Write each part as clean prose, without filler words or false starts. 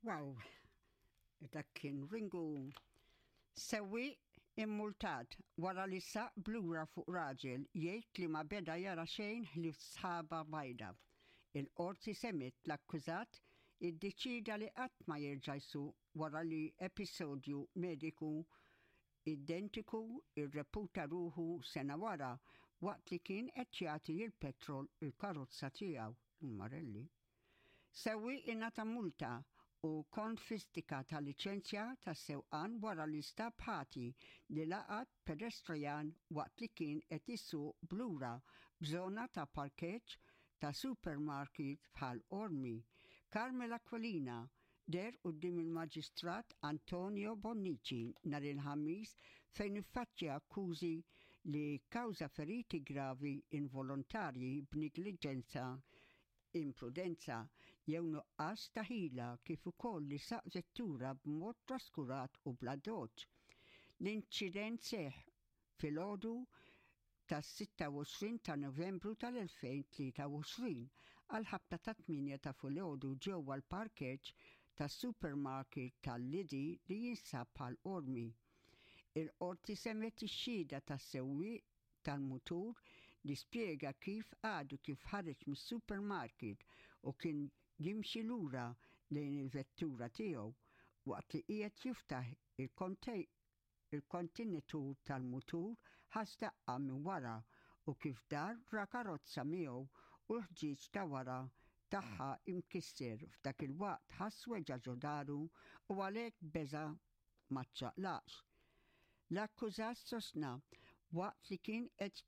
Wow, dak kien Ringu. Sewwieq immultat wara li saq blura fuq raġel jgħid li ma beda jara xejn ħlief sħaba bajda. Il-Qorti semgħet l-akkużat iddeċieda li qatt ma jerġa' jsuq wara li episodju mediku identiku rreputa ruħu sena wara waqt li kien qed jagħti l-petrol il-karozza tiegħu, il-Marelli. Sewwieq ingħata multa u konfistika ta' liċenzja tas-sewqan wara li nstab ħati li laqat pedestrijan waqt li kien qed isuq b'lura f'żona ta' parkeġġ ta' supermarket f'Ħal Qormi. Carmel Aquilina deher quddiem il-Maġistrat Antonio Bonnici nhar il-Ħamis fejn iffaċċja akkużi li kkawża feriti gravi involontarji b'negliġenza imprudenza jew nuqqas ta' ħila kif ukoll li saq vettura b'mod traskurat u bl-addoċċ. L-inċident seħħ filgħodu tas-26 ta' Novembru tal-2023 għall-ħabta tat-tmienja ta' filgħodu ġewwa l-parkeġġ tas-supermarket tal-Lidl li jinsab Ħal Qormi. Il-Qorti semgħet ix-xhieda tas-sewwieq tal-mutur li spjega kif għadu kif ħareġ mis-supermarket u kien jimxi lura lejn il-vettura tiegħu waqt li qiegħed jiftaħ il-kontenitur tal-mutur ħass daqqa minn wara u kif dar ra karozza miegħu u l-ħġieġ ta' wara tagħha imkisser f'dak il-waqt ħass weġgħa ġo daru u għalhekk beża' ma ċċaqlaqx. L-akkużat sostna waqt li kien qed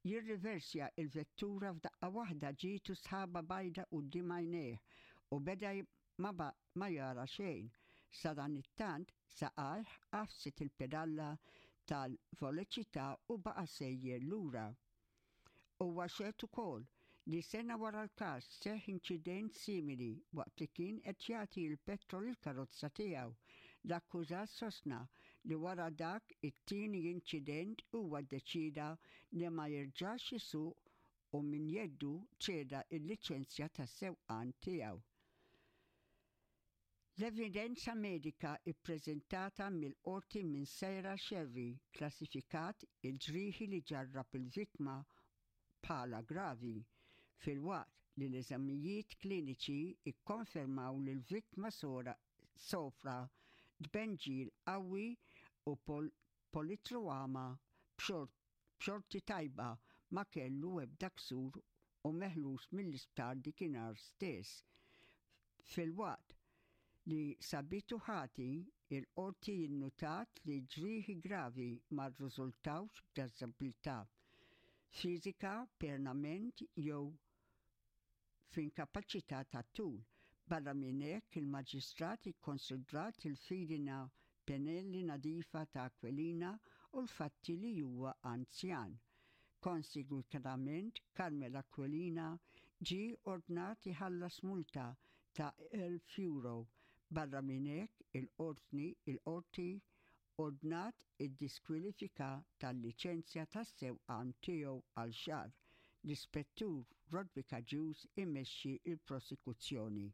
jirriversja il-vettura f'daqqa waħda ġietu sħaba bajda quddiem għajnejh u beda ma ma jara xejn. Sadanittant saqajh għafset il-pedalla tal-voleċità u baqa' sejjer lura. Huwa xehed ukoll li sena wara l-każ seħħ inċident simili waqt li kien qed jagħti l-petrol il-karozza tiegħu. L-akkużat sostna li wara dak it-tieni inċident huwa ddeċieda li ma jerġax isuq u minn jeddu ċeda l-liċenzja tas-sewqan tiegħu. L-evidenza medika ppreżentata mill-Qorti minn Sarah Scerri kklassifikat il-ġrieħi li ġarrab il-vittma bħala gravi, filwaqt li l-eżamijiet kliniċi kkonfermaw li l-vittma sofra tbenġil qawwi u politruama b'xorti b'xorti tajba ma kellu ebda ksur u meħlus mill-isptar dikinhar stess. Filwaqt li sabitu ħati, il-Qorti innutat li ġrieħi gravi ma rriżultawx b'diżabilità fiżika pernament jew f'inkapaċità tat-tul. Barra minn hekk, il-Maġistrat ikkonsidrat il-fidina penali nadifa ta' Aquilina u l-fatti li huwa anzjan. Konsegwitament, Carmel Aquilina ġie ordnat iħallas multa ta' €1,000. Barra minn hekk, il-Qortni il-Qorti ordnat id-diskwalifika tal-liċenzja tas-sewqan tiegħu għal xahar. L-Ispettur Roderick Agius imexxi l-prosekuzzjoni.